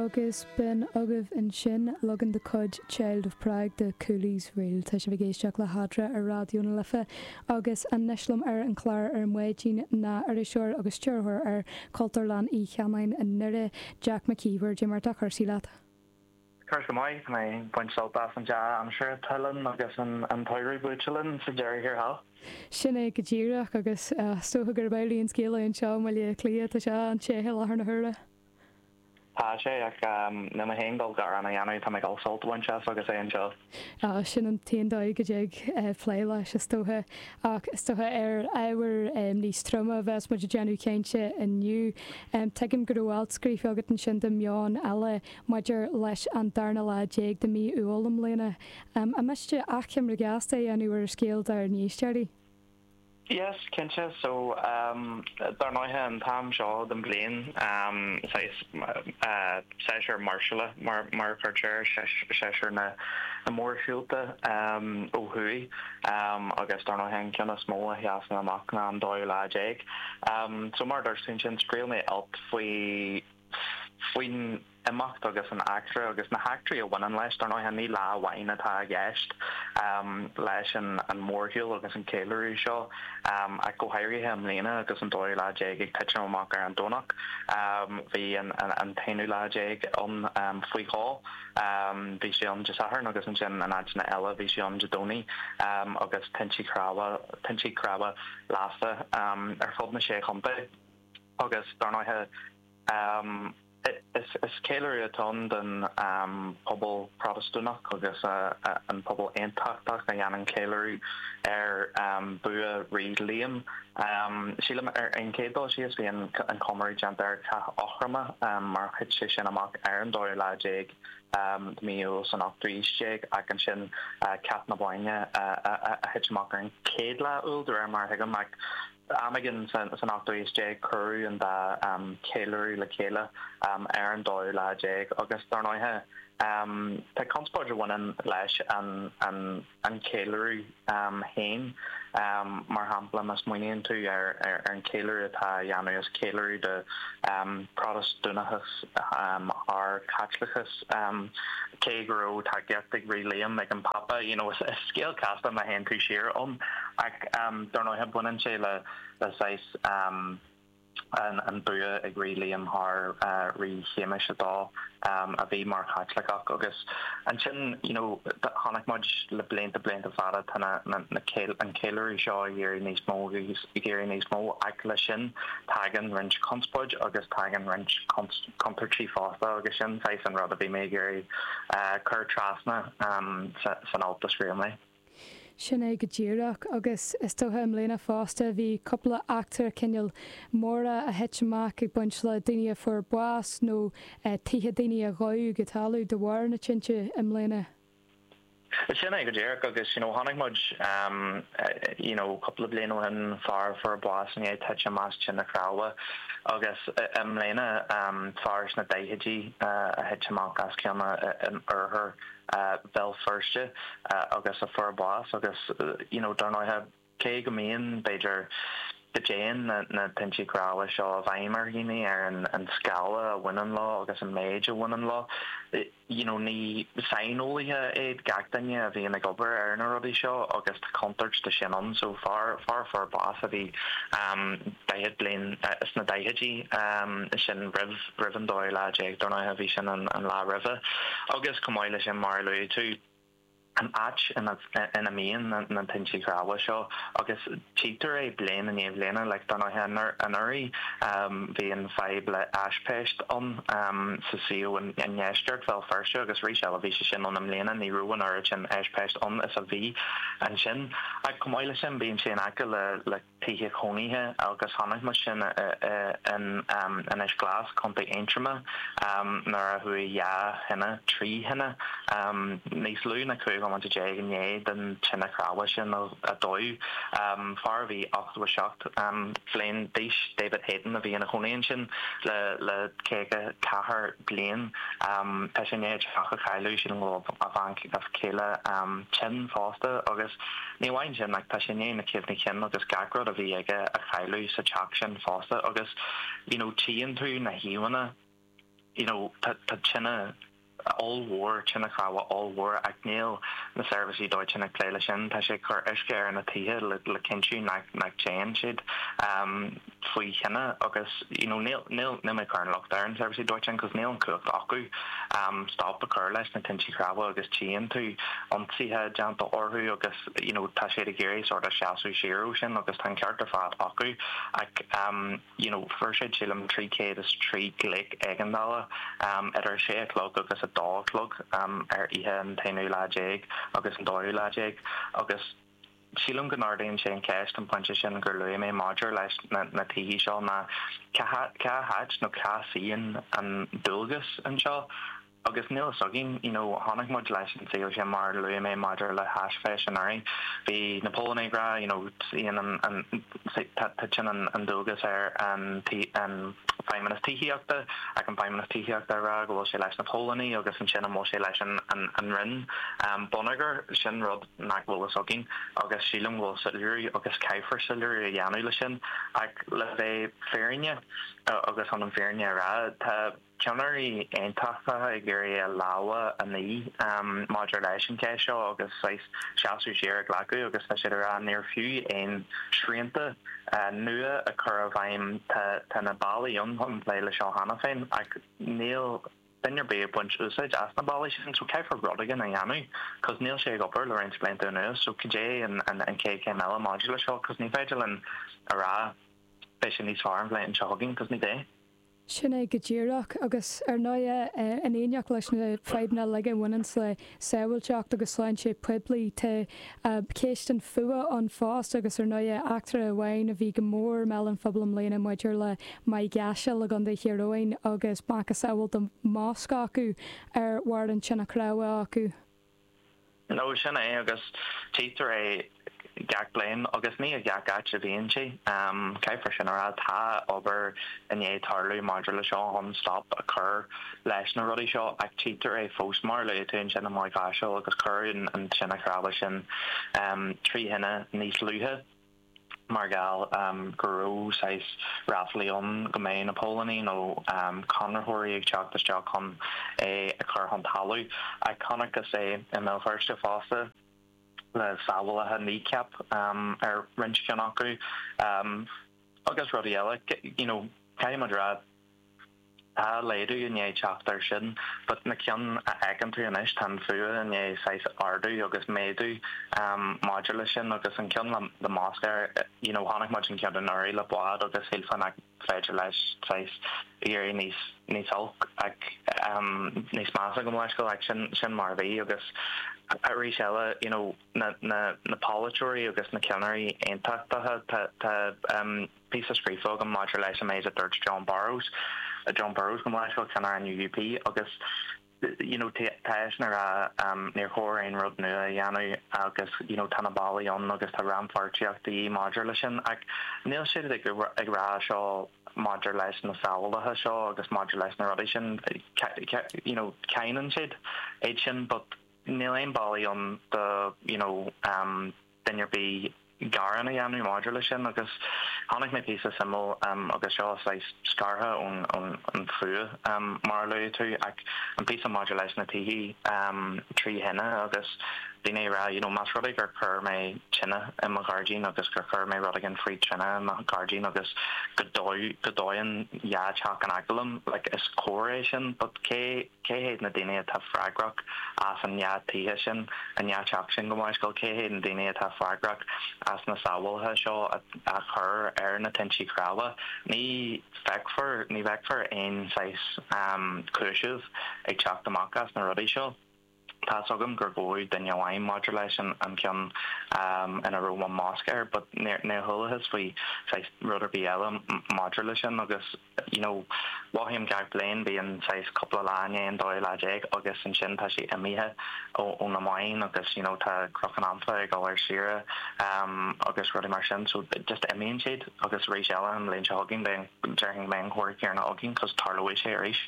Agus b'in agaibh ansin leagan de chuid Child of Prague de Cooley's Reel. Tá sibh ag éisteacht le hEadra ar Raidió na Life agus anois liom ar an chlár ar maidin ná iriseoir agus stiúrthóir ar Chultúrlann Uí Chanáin i nDoire, Jack Mac Íomhair. Cad é mar atá cúrsaí leat? Cúrsaí go maith, tá mé ag baint sult as an dea-aimsir atá linn agus an tsamhradh buaite linn sa deireadh thiar thall. Sin é go díreach agus is dócha gurb amhlaidh an scéal é anseo i mBaile Átha Cliath, tá sé an-te i láthair na huaire. Tá sé, ach níl mé féin ag dul gearán a dhéanamh, tá mé ag dul sult a bhaint as agus é anseo. Á, sin an t-aon dóigh go dtig plé leis, is dócha. Ach is dócha ar ábhar níos troime a bheas muid ag déanamh cainte inniu. Tuigim go raibh alt scríofa agat ansin do Meon Eile maidir leis an darna lá déag de mhí Iúil i mbliana. An miste achoimre gheasta a dhéanamh ar an scéal dár n-éisteoirí? Yes, cinnte. So, dar ndóighe, an t-am seo den bhliain, saghas séasúr máirseála mar a chuirtear air, séasúr na mórshiúlta ó thuaidh agus dar ndóighe an ceann is mó a sheasann amach ná an dóú lá déag. So, mar a dúirt tú ansin, scríobh mé alt faoi faoin imeacht agus an eachtra agus na heachtraí a bhaineann leis. Dar ndóighe, ní lá amháin atá i gceist leis an mórshiúl agus an ceiliúradh seo, ach go háirithe i mbliana agus an dóú lá déag ag titim amach ar an Domhnach. Bhí an t-aonú lá déag ann faoi dhó. Bhí sé ann Dé Sathairn agus ansin in áiteanna eile bhí sé ann Dé Domhnaigh agus tintí cnámha, tintí cnámha lasta ar fud na Sé Chontae. Agus dar ndóighe, is ceiliúradh atá ann don phobal Protastúnach agus an pobal Aontachtach a dhéanann ceiliúradh ar bhua Rí Liam. Sílim, ar an chéad dul síos, bhí an comóradh déanta ar Chath Eochroma mar thit sé sin amach ar an dóú lá déag de mhí Iúil san ochtú haois déag ach ansin Cath na Bóinne a thit amach ar an chéad lá Iúil de réir mar a thuigim ach Am éigin san ochtú haois déag cuireadh an dá cheiliúradh le chéile ar an dóú lá déag agus dar ndóighe tá conspóid a bhaineann leis an cheiliúradh féin. Mar shampla má smaoiníonn tú ar an cheiliúradh atá á dhéanamh is ceiliúradh de Protastúnachas thar Chaitliceachas cé go raibh tacaíocht ag Rí Liam ag an Pápa you know is scéal casta má théann tú siar ann. Ach dar ndóighe baineann sé le saghas an bua ag Rí Liam thar Rí Shéamais a Dó a bhí mar Chaitliceach agus ansin you know chonaic muid le blianta blianta fada tá na na an ceiliúradh seo ag éirí níos mó agus ag éirí níos mó ach leis sin tagann roinnt conspóid agus tagann roinnt contúirtí fosta agus sin saghas an rud a bhí mé ag iarraidh cur trasna san alt a scríobh mé. Sin é go díreach. Agus is dócha i mbliana fosta bhí cúpla eachtra cineál móra a thit amach ag baint le daoine a fuair bás nó tithe daoine a dhódh go talamh de bharr na tinte i mbliana. Sin é go díreach agus you know chonaic muid you know cúpla bliain ó shin fear a fuair bás i ndiaidh titim as tine chnámha agus i mbliana fear sna daichidí a thit amach as ceann in oirthear Bhéal Feirste agus a fuair bás agus you know dar ndóighe cé go mbíonn, b'fhéidir, go dtéann na tintí cnámha seo i bhfeidhm ar dhaoine, ar an scála a bhaineann leo agus an méid a bhaineann leo, you know ní saineolaithe iad gach duine a bhíonn ag obair ar na rudaí seo agus tá contúirt de sin ann so fear, fear a fuair bás a bhí 40 bliain, sna daichidí sin roimh. roimh an dóú lá déag, dar ndóighe, bhí sin an lá roimhe. Agus chomh maith leis sin, mar a luaigh tú, an áit ina mbíonn na tintí cnámha seo, agus tchítear é bliain i ndiaidh bliana, like, dar ndóighe, anuraidh bhí an fadhb le haispeist ann sa suíomh i ndeisceart Bhéal Feirste agus arís eile bhí sé sin ann i mbliana, ní raibh an oiread sin aispeist ann is a bhí ansin. Ach chomh maith leis sin, bíonn sé in aice le tithe cónaithe agus chonaic muid sin in Inis Glas, Contae Aontroma, nuair a chuaigh dhá thine, trí thine, níos lú ná 15 bomaite i ndiaidh den tine chnámha sin a dódh. Fear a bhí 87 bliain d'aois, David Hayton, a bhí ina chónaí ansin le 54 bliain. Tá sé i ndiaidh a theach a chailleadh, sílim go bhfuil a bhean chéile tinn fosta agus Ní amháin sin, ach tá sé i ndiaidh na cuimhní cinn agus gach rud a bhí aige a chailleadh sa teach sin fosta agus you know tchíonn tú na híomhánna. you know tá tine ollmhór, tine chnámha ollmhór ach níl na seirbhísí dóiteáin ag plé leis sin. Tá sé ag cur uisce ar na tithe le le cinntiú nach nach dtéann siad faoi thine agus you know níl níl níl mé ag cur an locht ar an seirbhísí dóiteáin cos níl an cumhacht acu stop a chur leis na tintí chnámha agus tchíonn tú ionsaithe déanta orthu agus you know tá siad ag iarraidh sort of seasamh siar ó sin agus tá an ceart ar fad acu ach you know fuair siad sílim 303 glaoch éigeandála idir 6 a chlog agus 2 a chlog ar oíche an t-aonú lá déag agus an dóú lá déag agus sílim go n-ardaíonn sé an cheist an pointe sin gur luaigh mé maidir leis na na tithí seo ná cá cá háit nó cá suíonn an dualgas anseo Agus níl fhios againn, you know, chonaic muid leis an suíomh sin mar a luaigh mé maidir le haisfheis anuraidh. Bhí na póilíní ag rá, you know, suíonn an, an, tá, titeann an, an dualgas ar an, an Feidhmeannas Tithíochta ach an Feidhmeannas Tithíochta ag rá go bhfuil sé leis na póilíní agus ansin an bhfuil sé leis an, an, an Roinn Bonneagair, sin rud nach bhfuil fhios againn agus sílim go bhfuil soiléiriú agus caithfear soiléiriú a dhéanamh le sin ach le bheith fírinne agus chun an fírinne a rá, tá. Ceannairí aontachtacha ag iarraidh a lámha a ní maidir leis an cheist seo agus saghas seasamh siar a ghlacadh agus tá siad ag rá níor fiú aon srianta nua a chur i bhfeidhm. Tá na bealaí ann chun plé le seo cheana féin ach níl duine ar bith ag baint úsáid as na bealaí sin so caithfear rud éigin a dhéanamh cos níl sé ag obair le roinnt blianta anuas so cad é an chéad chéim eile maidir le seo cos ní féidir linn a rá beidh sé níos fearr an bhliain seo chugainn cos ní bheidh. Sin é go díreach. Agus ar ndóighe, in éineacht leis na fadhbanna uilig a bhaineanns le sábháilteacht agus sláinte poiblí, tá ceist an fuath ann fosta agus ar ndóighe eachtra amháin a bhí go mór i mbéal an phobail i mbliana maidir le Maigh gCaisil i gContae Thír Eoghain agus macasamhail de mhosc acu ar bharr an tine chnámha acu. No, sin é, agus tchítear é gach bliain, agus ní i gach áit a bhíonn sé. Caithfear sin a rá, tá obair i ndiaidh tarlú maidir le seo chun stop a chur leis na rudaí seo, ach tchítear é fós, mar a luaigh tú ansin i Maigh Chaisil, agus cuireadh an tine chnámha sin trí thine níos luaithe. mar gheall go raibh saghas ráflaí ann go mbeadh na póilíní nó conraitheoirí ag teacht isteach chun é a chur chun talamh. Ach chonacthas é i mBéal Feirste fosta le samhlacha Kneecap ar roinnt ceann acu agus rudaí eile. You know, caithfidh muid a rá, Tá laghdú i ndiaidh teacht air sin, but na cinn a fheiceann tú anois, tá an fuath i ndiaidh saghas ardú agus méadú maidir leis sin agus an ceann le mosc air, you know, chonaic muid an ceann anuraidh le bád agus shílfeá nach féidir leis saghas éirí níos, níos olc ach níos measa gabh mo leithscéal ach sin, sin mar a bhí agus arís eile, you know, na, na, na polaiteoirí agus na ceannairí aontachtacha, tá, tá, píosa scríofa agam maidir leis an méid a dúirt Jon Burrows, Jon Burrows gabh mo leithscéal, ceannaire an UUP, agus you know tá eisean ag rá níor chóir aon rud nua a dhéanamh agus you know tá na bealaí ann agus tá rannpháirtíocht de dhíth maidir leis sin ach níl siad ag ag rá seo maidir leis na samhlacha seo agus maidir leis na rudaí sin you know cáineann siad iad sin but níl aon bealaí ann do you know duine ar bith gearán a dhéanamh maidir leis sin agus chonaic mé píosa suimiúil agus seo saghas scartha ón fuath mar a luaigh tú ach an píosa maidir leis na tithí trí thine agus daoine ag rá you know más rud é gur chuir mé tine i mo ghairdín agus gur chuir mé rud éigin faoi tine i mo ghairdín agus go go dóann dhá teach in aice liom like is cóir é sin but cé Cé hiad na daoine atá freagrach as an ndá tithe sin, an ndá teach sin gabh mo leithscéal? Cé hiad na daoine atá freagrach as na samhlacha seo a chur ar na tintí cnámha? Ní feicfear, ní bhfeicfear aon saghas cúiseamh ag teacht amach as na rudaí seo. Tá's agam gur gabhadh duine amháin maidir leis an ceann ina raibh an mosc air but níor chualathas faoi saghas rud ar bith eile maidir leis sin agus you know mothaím gach bliain bíonn saghas cúpla lá i ndiaidh an dóú lá déag agus ansin tá sé imithe ó na meáin agus you know tá Cnoc Anfa ag dul ar saoire agus rudaí mar sin so just imíonn siad agus arís eile an bhliain seo chugainn beidh déarfainn go mbeidh an comhrá céanna againn cos tarlóidh sé arís.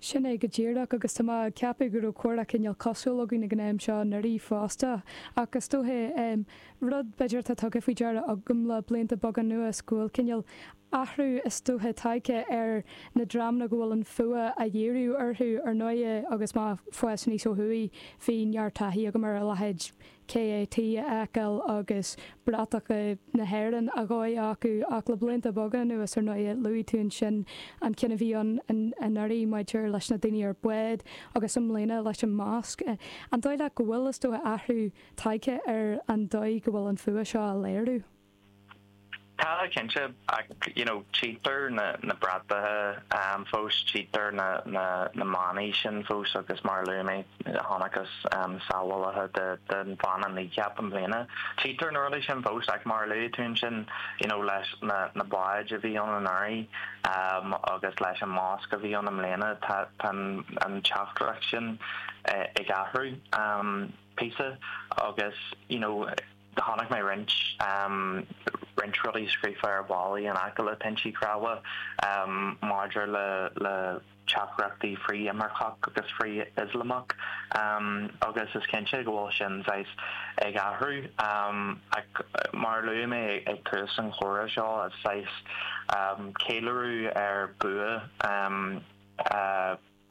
Sin é go díreach, agus tá mé ag ceapadh go raibh comhrá cineál cosúil againn ag an am seo anuraidh fosta. Ach is dóiche, rud b'fhéidir atá tugtha faoi deara agam le blianta beaga anuas, go bhfuil cineál. athrú is dócha tagtha ar na dreamanna go bhfuil an fuath á dhíriú orthu, ar ndóighe, agus mé ag fás aníos ó thuaidh, bhí neart taithí agam ar a leithéid KAT a fheiceáil agus bratacha na hÉireann á dhóigh acu ach le blianta beaga anuas, ar ndóighe, luaigh tú ansin an ceann a bhí ann anuraidh maidir leis na daoine ar bád agus i mbliana leis an masc. An dóigh leat go bhfuil, is dócha, athrú tagtha ar an dóigh go bhfuil an fuath seo á léiriú? Tá, cinnte, ach you know tchítear na na bratacha fós, tchítear na na na manaí sin fós agus mar a luaigh mé chonacthas samhlacha de den mhana Kneecap i mbliana. Tchítear na rudaí sin fós ach mar a luaigh tú ansin you know leis na na báid a bhí ann anuraidh agus leis an masc a bhí ann i mbliana tá tá an an teachtaireacht sin ag athrú píosa agus you know Chonaic mé roinnt roinnt rudaí scríofa ar bhallaí in aice le tintí cnámha maidir le le teachtaireachtaí frith-imirceach agus frith-Ioslamach agus is cinnte go bhfuil sin saghas ag athrú ach mar a luaigh mé ag tús an chomhrá seo is saghas ceiliúradh ar bua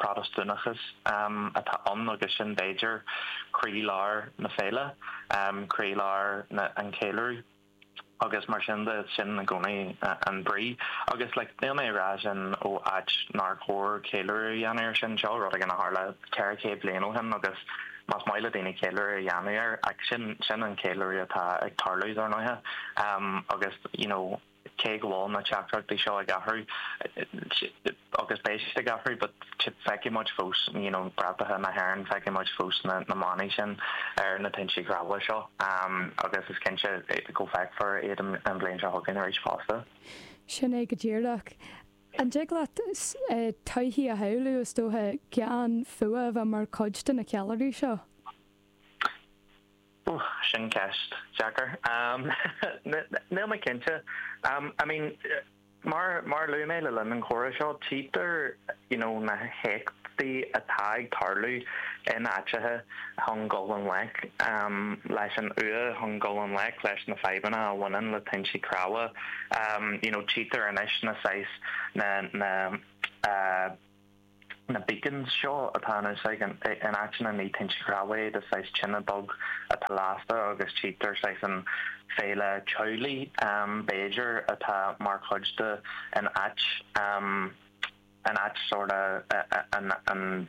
Protastúnachas atá ann agus sin b'fhéidir croílár na féile, croílár an cheiliúradh agus mar sin de sin i gcónaí an brí. Agus like níl mé ag rá sin ó áit nár chóir ceiliúradh a dhéanamh ar sin, seo rud éigin a tharla 400 bliain ó shin agus más maith le daoine ceiliúradh a dhéanamh air ach sin sin an ceiliúradh atá ag tarlú dar ndóighe agus you know cé go bhfuil na teachtaireachtaí seo ag athrú agus beidh siad ag athrú but feicfidh muid fós you know bratacha na hÉireann, feicfidh muid fós na na manaí sin ar na tintí cnámha seo agus is cinnte go bhfeicfear iad an bhliain seo chugainn arís fosta. Sin é go díreach. An dtig leat todhchaí a shamhlú, is dócha, gan fuath a bheith mar chuid de na ceiliúraí seo? Ooh, sin ceist deacair. Níl mé cinnte. I mean, mar mar a luaigh mé le linn an chomhrá seo, tchítear you know na héachtaí atá ag tarlú in áiteacha chun dul i ngleic leis an fhuath, chun dul i ngleic leis na fadhbanna a bhaineann le tintí cnámha. You know, tchítear anois na saghas na na na beacons seo atá in úsáid in áiteanna ní tinte cnámha iad, is saghas tine beag atá lasta agus tchítear saghas an féile teaghlaigh b'fhéidir atá mar chuid de in áit in áit sort of an an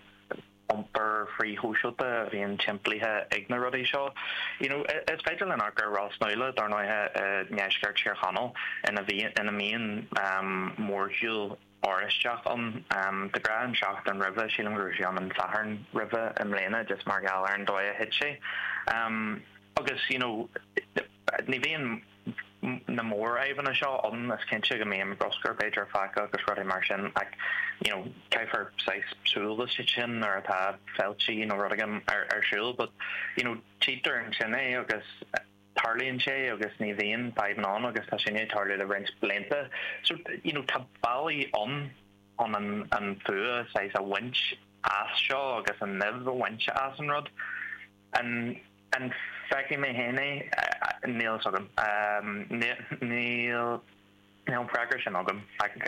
iompar frithshóisialta a bhíonn timplithe ag na rudaí seo. You know is féidir linn amharc ar Ros Nuala dar ndóighe i ndeisceart Thír Chonaill ina ina mbíonn mórshiúl Oráisteach ann. De ghnáth an seachtain roimhe, sílim go raibh sé ann an Satharn roimhe i mbliana just mar gheall ar an dóigh a thit sé. Agus you know ní bhíonn na mórfhadhbanna seo ann, is cinnte go mbíonn bruscar b'fhéidir fágtha agus rudaí mar sin ach you know caithfear saghas súil leis sin nuair atá féilte nó rud éigin ar ar siúl but you know tchítear ansin é agus tarlaíonn sé agus ní bhíonn fadhbanna ann agus tá sin ag tarlú le roinnt blianta. So, you know, tá bealaí ann chun an an fuath saghas a bhaint as seo agus an nimh a bhaint as an rud. An an bhfeicfidh mé féin é? Níl a fhios agam. Níl níl an freagra sin agam ach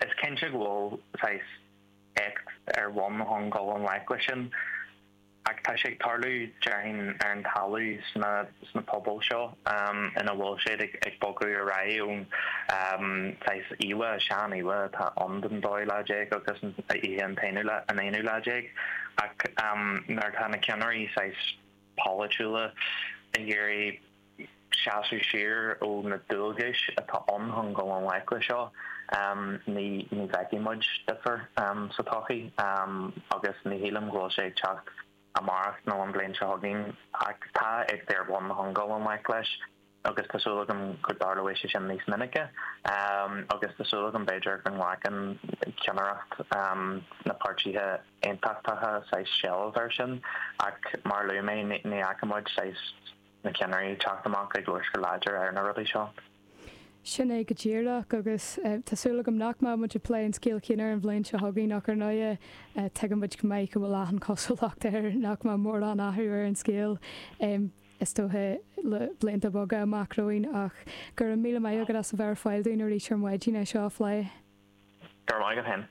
is cinnte go bhfuil saghas éacht ar bun chun dul i ngleic leis sin. Ach tá sé ag tarlú, déarfainn, ar an talamh sna sna pobail seo ina bhfuil siad ag bogadh ar aghaidh ón saghas íomhá, sean-íomhá atá ann den dóú lá déag agus an oíche an t-aonú lá, an aonú lá déag. Ach nuair atá na ceannairí saghas polaitiúla ag iarraidh seasamh siar ó na dualgais atá ann chun dul i ngleic le seo, ní ní bhfeicfidh muid difear sa todhchaí agus ní shílim go bhfuil sé ag teacht amárach nó an bhliain seo chugainn ach tá éachtaí ar bun chun dul i ngleic leis agus tá súil agam go dtarlóidh sé sin níos minice agus tá súil agam b'fhéidir go nglacann ceannaireacht na páirtithe aontachtacha saghas seilbh air sin ach mar a luaigh mé ní fhaca muid saghas na ceannairí ag teacht amach ag labhairt go láidir ar na rudaí seo. Sin é go díreach, agus tá súil agam nach mbeidh muid ag plé an scéal céanna an bhliain seo chugainn ach ar ndóighe tuigeann muid go maith go bhfuil achan chosúlacht air nach mbeidh mórán athrú ar an scéal. is dócha le blianta beaga amach romhainn ach go raibh míle maith agat as a bheith ar fáil dúinn arís ar maidin é seo a phlé. Go raibh maith agat féin.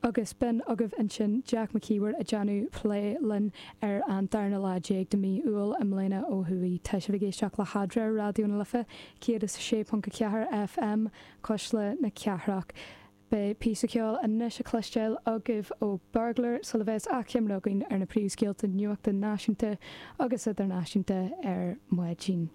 Agus b'in agaibh ansin Jack Mac Íomhair ag déanamh plé linn ar an darna lá déag de mí Iúil i mbliana ó thuaidh. Tá sibh ag éisteacht le hEadra ar Raidió na Life 106.4 FM, Cuisle na Cathrach. Beidh píosa ceoil anois á chloisteáil agaibh ó Burglar sula bheas achoimre againn ar na príomhscéalta nuachta náisiúnta agus idirnáisiúnta ar maidin.